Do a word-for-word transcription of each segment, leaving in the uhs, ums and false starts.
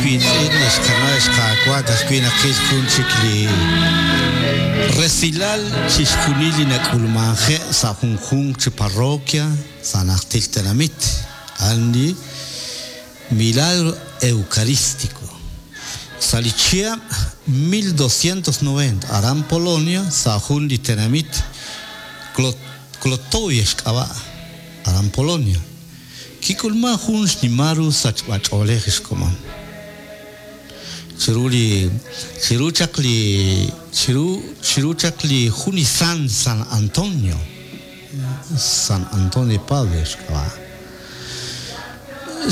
wiitz'in, ex qana', ex qaawa', ka'ajwi' naqil jun chik li resilal chixjunil li nak'ulmanje' sa' junjunq chi parroquia sa' najtil tenamit. A'an li milagro eucarístico. Sa' li chihab' mil doscientos noventa aran Polonia sa' jun li tenamit Klotovia xk'ab'a' aran Polonia. Kik'ulman jun xnimal ru sachb'ach'oolej xkomon. Chiru li chiru chaq li chiru chiru chaq li jun li San San Antonio San Antonio de Padua xk'ab'a'.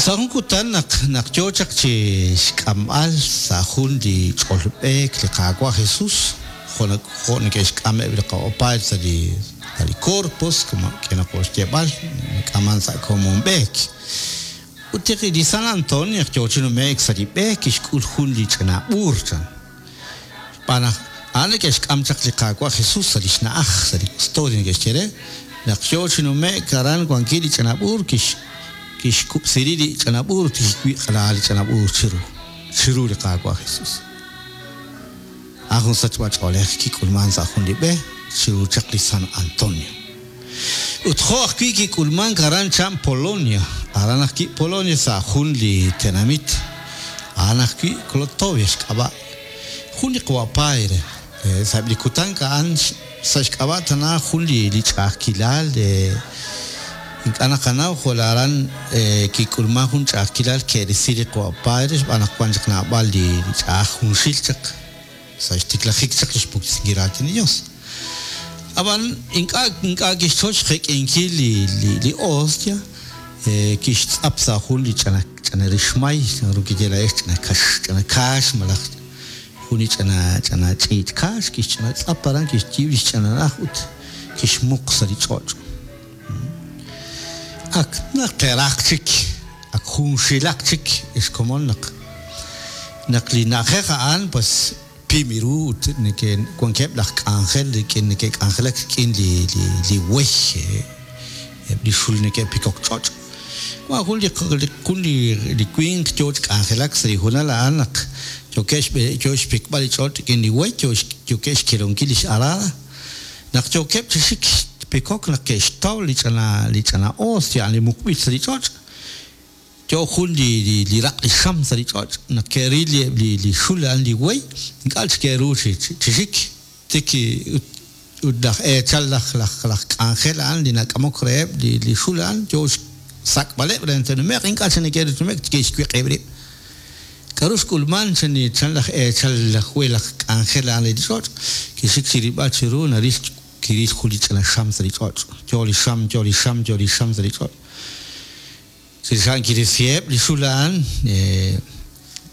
Sa' jun kutan naq naq yoo chaq chi xk'amb'al sa' jun li ch'olb'eek li Qaawa' Jesus jo' jo' neke'xk'ameb' li qa'opaal sa' li sa' li corpus como k'enaqo xyeeb'al k'aman sa' komonb'eek. Ut li San Antonio yoo chi nume'k sa' li b'e kixk'ul jun li ch'ina b'uur chan. Xb'aan naq a'an neke'xk'am chaq li Qaawa' Jesus sa' li xna'aj sa' li custodia neke'xye re naq yoo chi nume'k aran wankil li ch'ina b'uur kix kixkub'siri li ch'ina b'uur ut kixwiq'la li ch'ina b'uur chiru chiru li Qaawa' Jesus. A'an jun sachb'ach'oolej kik'ulman sa' jun li b'e chiru chaq li San Antonio. Ut jo' ajwi' kik'ulman aran chan Polonia, aran ajwi' Polonia sa' jun li tenamit, a'an ajwi' Klotovia xk'ab'a'. Jun li qawa'paire, sa' li kutan a'an sa' xk'ab'a' tana jun li li ch'a'ajkilal, ink'a' naqanaw jo' aran kik'ulman jun ch'a'ajkilal ke'risi li qawa'paire xb'aan naq wan chaq naab'al li ch'a'aj junxil chaq sa' xtiklajik chaq li xpuktasinkil raatin li Dios. Ab'an ink'a' ink'a' kixchoch xjek'inkil li li li hostia kixtz'ap sa' jun li ch'ina ch'ina rixmay naru kiye la'ex ch'ina kax ch'ina kaax malaj jun li ch'ina ch'ina ch'iich' kaax kixch'ina tz'ap aran kixyiib' li xch'ina na'aj ut kixmuq sa' li ch'och'. Ak naq teraq chik ak junxilaq chik xkomon naq naq li na'ajej a'an pues pimiru ut neke wankeb' laj k'anjel rik'in neke'k'anjelak rik'in li li li wey eb' li xul neke'pikok ch'och'. Wan jun li jun li li winq yoo chi k'anjelak sa' li junal a'an naq yookeb' xb'e yoo xpikb'al li ch'och' rik'in li wey yoo yookeb' xkelonkil li x'arada. Naq yookeb' chi xik pikok naq ke'xtaw li ch'ina li ch'ina hostia li muqb'il sa' li ch'och'. Yoo jun li li li raq' li xam sa' li ch'och' naq ke'ril li li li xul a'an li wey ink'a' chik ke'ru chi chi xik tik ut ut laj eechal laj laj laj k'anjel a'an li nak'amok reheb' li li xul a'an yoo xsak'b'aleb' re te'nume'q ink'a' chik neke'ru nume'k ke'xwiq'ib' rib'. K'aru xk'ulman chan chan laj eechal laj wey laj k'anjel a'an li ch'och' kixik chi rilb'al chiru naril kiril jun li ch'ina xam sa' li ch'och' yoo li xam yoo li xam yoo li xam sa' li ch'och'. Chirix kirisiheb' li xul a'an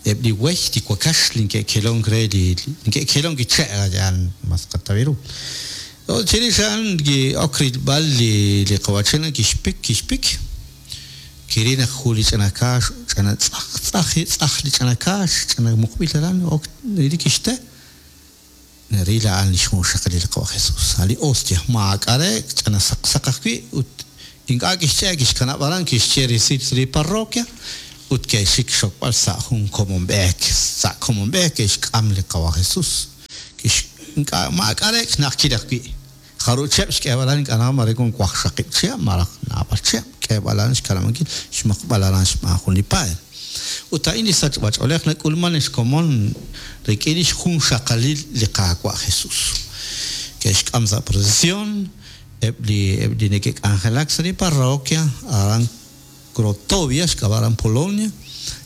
eb' li wey li wakax li neke'kelonk re li neke'kelonk li che' a'an mas qatawiru. Chirix a'an ki'ok rilb'al li li qawachina kixpik kixpik kiril naq jun li ch'ina kaax ch'ina tz'aj tz'aj tz'aj li ch'ina kaax ch'ina muqb'il aran ok li kixte naril a'an li xjunxaqalil li Qawa' Jesus a' li hostia maak'a' re ch'ina saq saq ajwi' ut ink'a' kixch'e' kixkanab' aran kixye resil sa' li parroquia ut ke'xik xokb'al sa' jun komonb'eek sa' komonb'eek ke'xk'am li Qawa' Jesus kix ink'a' maak'a' re xna'ajkil ajwi' jarucheb' xk'eeb'al aran ink'a' naq mare wan waqxaqib' chihab' malaj naab'al chihab' k'eeb'al aran xkanab'ankil xmuqb'al aran xb'aan jun li paer. Ut a'in li sachb'ach'oolej nak'ulman xkomon rik'in li xjunxaqalil li Qaawa' Jesus. Ke'xk'am sa' procesión eb' li eb' li neke'k'anjelak sa' li parroquia aran Krotovia xk'ab'a' aran Polonia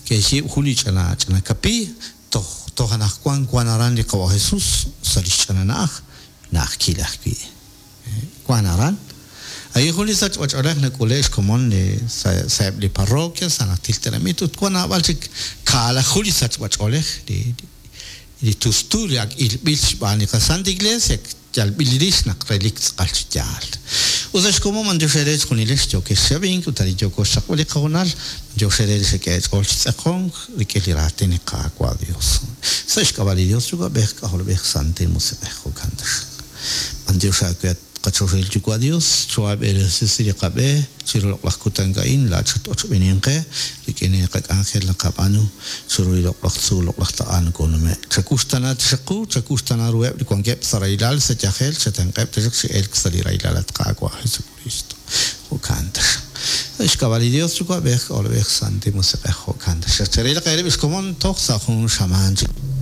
ke'xyiib' jun li ch'ina ch'ina kapiiy toj toj anaqwan wan aran li Qawa' Jesus sa' li xch'ina na'aj na'ajkil ajwi' wan aran. Ahí jun li sachb'ach'oolej nak'ule' xkomon li sa' sa'eb' li parroquia sa' najtil tenamit ut wan naab'al chik kaalaju li sachb'ach'oolej li li tustu li ak ilb'il xb'aan li qaSanta Iglesia yalb'il rix naq relik tz'aqal chi yaal. Ut sa' xkomon mandiox ere chjunilex yookex xab'ink ut arin yooko xchaqb'al li qahonal mandiox ere li xek'e ch'ool chi tz'eqonk rik'in li raatin li Qaawa' Dios. Sa' xk'ab'a' li Dios Yuwa'b'ej K'ajolb'ej Santil Musiq'ej jo'kan taxaq. Mandiox aawe Qachoxahil Yuwa' Dios, choaab'eresi sa' li qab'e chiru loq'laj kutan a'in, laa'at xat-ochb'eenink qe rik'in li qak'anjel naqab'aanu chiru li loq'laj tzuul, loq'laj taq'a nokonume'. Chakuxtana taxaq qu, chakuxtana ruheb' li wankeb' sa' rahilal, sa' yajel, chatenq'eb' taxaq chi elk sa' li rahilal at Qaawa' Jesukristo. Jo'kan taxaq. Sa' xk'ab'a' li Dios Yuwa'b'ej, K'ajolb'ej, Santil Musiq'ej, jo'kan taxaq. Cherilaq eerib' xkomon toj sa' jun xamaan chik.